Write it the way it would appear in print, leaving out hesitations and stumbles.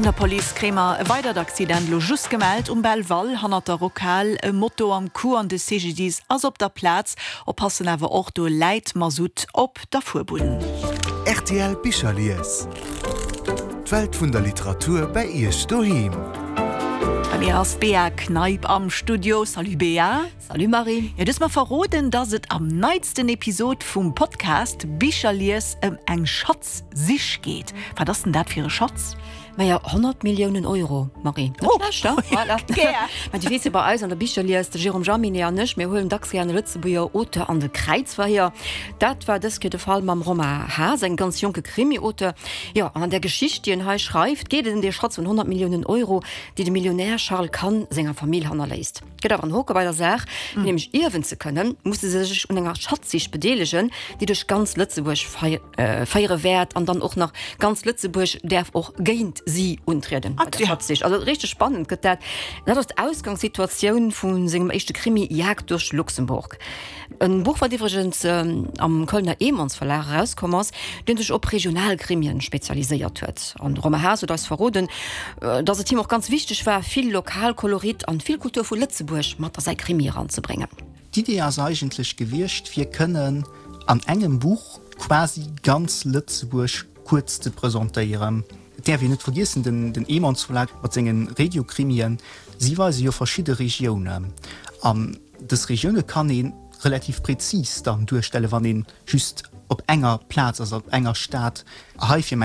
Vun der Police kréie mer e weidert Accident elo just gemellt um Belval hannert der Rockhal. E Moto am Coup an de CGDIS ass op der Plaz. Oppassen awer och, do läit Masutt op der Fuerbunn. Rtl Bicherlies, D'Welt vun der Literatur bäi Iech doheem. Bei mir ass d'Bea Kneip am Studio. Salut Bea. Salut Marie. Jo, du hues mer verroden, dass et am neitsten Episod vum Podcast Bicherlies ëm eng Schatzsich geet. Wat ass denn dat fir e Schatz? Maja, 100 Milliounen Euro, Marie. Net schlecht, he? Voilà. Gär. Mä du weess jo, bei eis an der Bicherlies, de Jérôme Jaminet an ech, mir huelen dacks gär e Lëtzebuerger Auteur an de Kräizverhier. Dat war dës Kéier de Fall mam Romain Haas, engem ganz jonke Krimi-Auteur. Jo, an an där Geschicht, déi en hei schreift, geet et ëm dee Schatz vun 100 Milliounen Euro, déi de Millionär Charles Kahn senger Famill hannerléisst. Gëtt awer en Hoke bei der Saach, fir nämlech ierwen ze kënnen, musse se sech un enger Schatzsich bedeelegen, déi duerch ganz Lëtzebuerg féiere wäert an dann och nach ganz Lëtzebuerg däerf och géint si untrieden bei der Schatzsich. Also richteg spannend gëtt dat. Dat ass d'Ausgangssituatioun vu sengem éischte Krimi Jagd durch Luxemburg. E Buch, wat iwwregens am Kölner Emons Verlag erauskomm ass, dee sech op regional Krimien spezialiséiert huet. An de Romain Haas huet eis verroden, datt et him och ganz wichteg war, vill Lokalkolorit an vill Kultur vu Lëtzebuerg mat a säi Krimi eranzebréngen. D'Idee ass eigentlech gewiescht, fir kënnen an engem Buch quasi ganz Lëtzebuerg kuerz ze presentéieren. Et däerf een net vergiessen, den Emons Verlag mat senge Regiokrimien, si weise jo verschidde Regiounen an Dës Regioune kann ee relativ prezis dann duerstellen, wann ee just op enger Plaz ass, op enger Stad. Hei fir.